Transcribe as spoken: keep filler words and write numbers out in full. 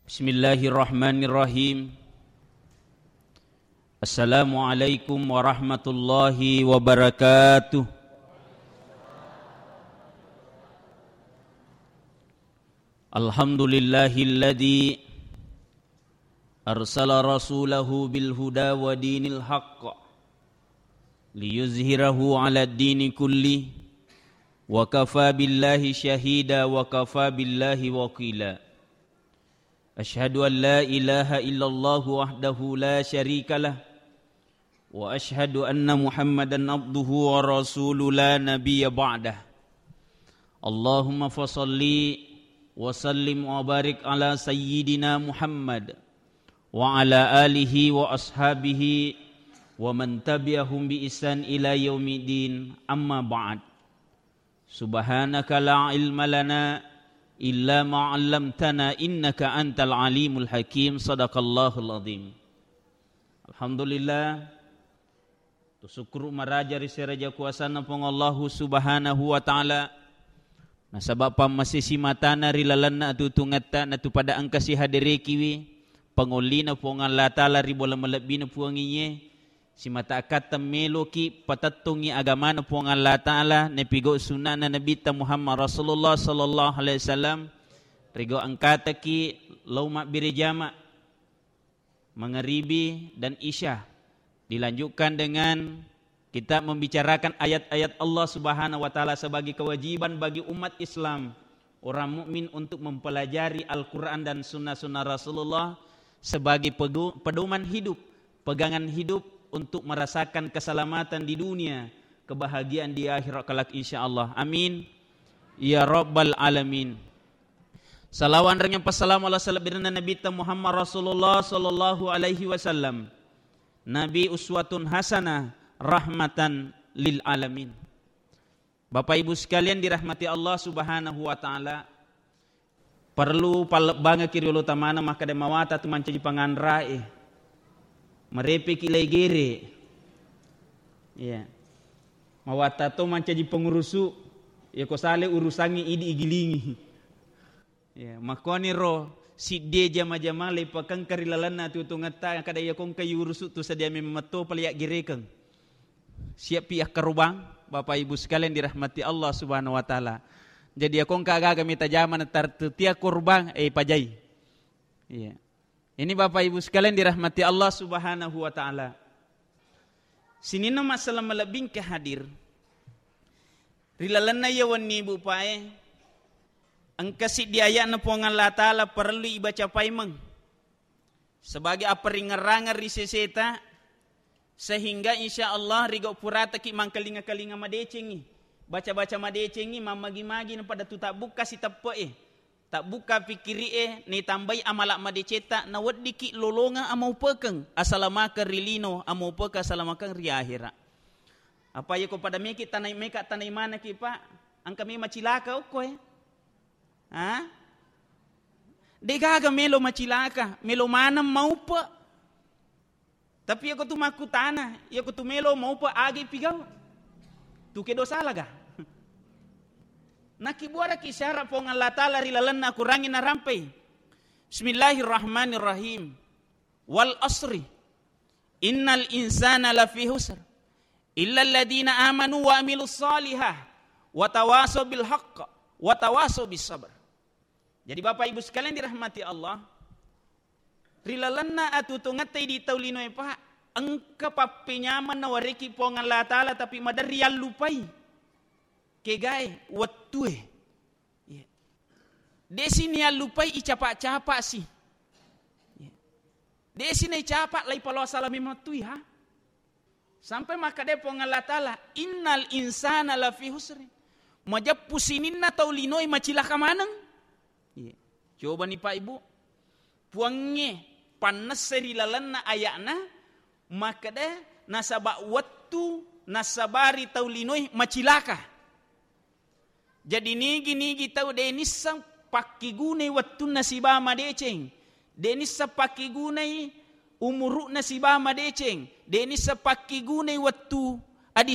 Bismillahirrahmanirrahim. Assalamualaikum warahmatullahi wabarakatuh. Alhamdulillahilladzi arsala rasulahu bil huda wa dinil haqq liyuzhirahu ala dini kulli wa kafa billahi syahida wa kafa billahi wakila. Asyhadu an la ilaha illallah wahdahu la syarika lah, wa asyhadu anna Muhammadan abduhu wa rasuluh la nabiyya ba'dah. Allahumma fasalli wa sallim wa barik ala sayyidina Muhammad wa ala alihi wa ashabihi wa man tabi'ahum bi ihsan ila yaumiddin, amma ba'd. Subhanaka la ilma lana illa ma 'allamtana innaka antal alimul hakim. Sadaqallahul azim. Alhamdulillah. Tusukkuru maraja ri seraja kuasanna Puang Allahu Subhanahu wa Ta'ala. Nasaba pammasesi matana ri lalenna atuo-tuongetta, natu pada engka sihaderekiwi pangollina Puang Allah Ta'ala ri bola malebbina Puang iye. Simata akkatta meloki patettongi agamana Puang Allah Ta'ala, napigau sunnana Nabitta Muhammad Rasulullah sallallahu alaihi wasallam, rigau engkataki lao mabbere jama, mangaribi dan isya. Dilanjutkan dengan kita membicarakan ayat-ayat Allah Subhanahu wa Ta'ala sebagai kewajiban bagi umat Islam, orang mukmin, untuk mempelajari Al-Quran dan sunnah-sunnah Rasulullah sebagai pegu-, pedoman hidup, pegangan hidup untuk merasakan keselamatan di dunia, kebahagiaan di akhirat kelak, insya Allah. Amin ya rabbal alamin. Salawa anrengeng passalama Allah salebbirenna Nabitta Muhammad Rasulullah sallallahu alaihi wasallam. Nabi uswatun hasanah rahmatan lil alamin. Bapak Ibu sekalian dirahmati Allah Subhanahu wa Ta'ala, perlu pallebbangeki riolo tamana makkeda mawata tu mancaji panganrae, marepeki lai gere. Iya. Mawata to mancaji pengurusu, ya ko sale urusangi idi igilingi. Ya, makkoniro siddie jama-jama leipakengka ri lalenna atuo-tuongetta, kada iya kongka yurusu tu sadia memang metto pale yaggerekeng. Siappi akkarobang, Bapak Ibu sekalian dirahmati Allah Subhanahu wa Ta'ala. Jadi iya kongka agaga mita jama natartutia korobang, eh, pajai. Iya. Ini Bapak Ibu sekalian dirahmati Allah Subhanahu wa Ta'ala. Sininna masalah malebbingke hadir. Ri lalenna iya wenni, Bu, Pak, e, engka siddi aya'na Puang Allah Ta'ala parellu ibaca paimeng sebagai apparingngerangeng ri seseta, sehingga insya Allah rigau purataki mangkalinga-kalinga madecengi, baca-baca madecengi, mammagi-magi napada tu tabbukka siteppe'e, tabbukka pikkiri'e, naitambai amala madecetta, naweddiki lolongeng amaupekeng, asalamakeng ri lino, amaupekeng asalamakeng ri ahera. Apa iya ko pada meki tanai, meka tanai manaki, Pak? Engka memang cilaka okko, eh? Ha? Degaga melo macilaka, melo maneng maupe. Tapi iya ko tu makkutana, iya ko tu melo maupe, agi pigau? Tu kedo salaga? Nakibuaraki syarat Puang Allah Ta'ala ri lalenna Kurangi narampai. Bismillahirrahmanirrahim. Wal asri. Innal insana lafi husr. Illa alladhina amanu wa amilus salihah. Wa tawasaw bil haqq. Wa tawasaw bis sabr. Jadi Bapak Ibu sekalian dirahmati Allah, ri lalenna atuo-tuongetta idi tau linoe, Pak, engka pappenyameng nawareki Puang Allah Ta'ala, tapi maderri yallupai kegae, wettue. Iya. Desi niyallupai icapa-capa si. Iya. Desi naicapa lai paloa salame mattui, ha? Sampai makkeda Puang Allah Ta'ala, "Innal insana lafi husri." Majeppu sininna tau linoe macilaka maneng. Iya. Cobani, Pak, Ibu. Puangnge pannessai ri lalenna aya'na makkeda, nasaba wettu nassabari tau linoe macilaka. Jadi nigi-nigi tau de nisseng pakkigunai wettunna siba madeceng, de nisseng pakkigunai umuru'na siba madeceng, de nisseng pakkigunai wettu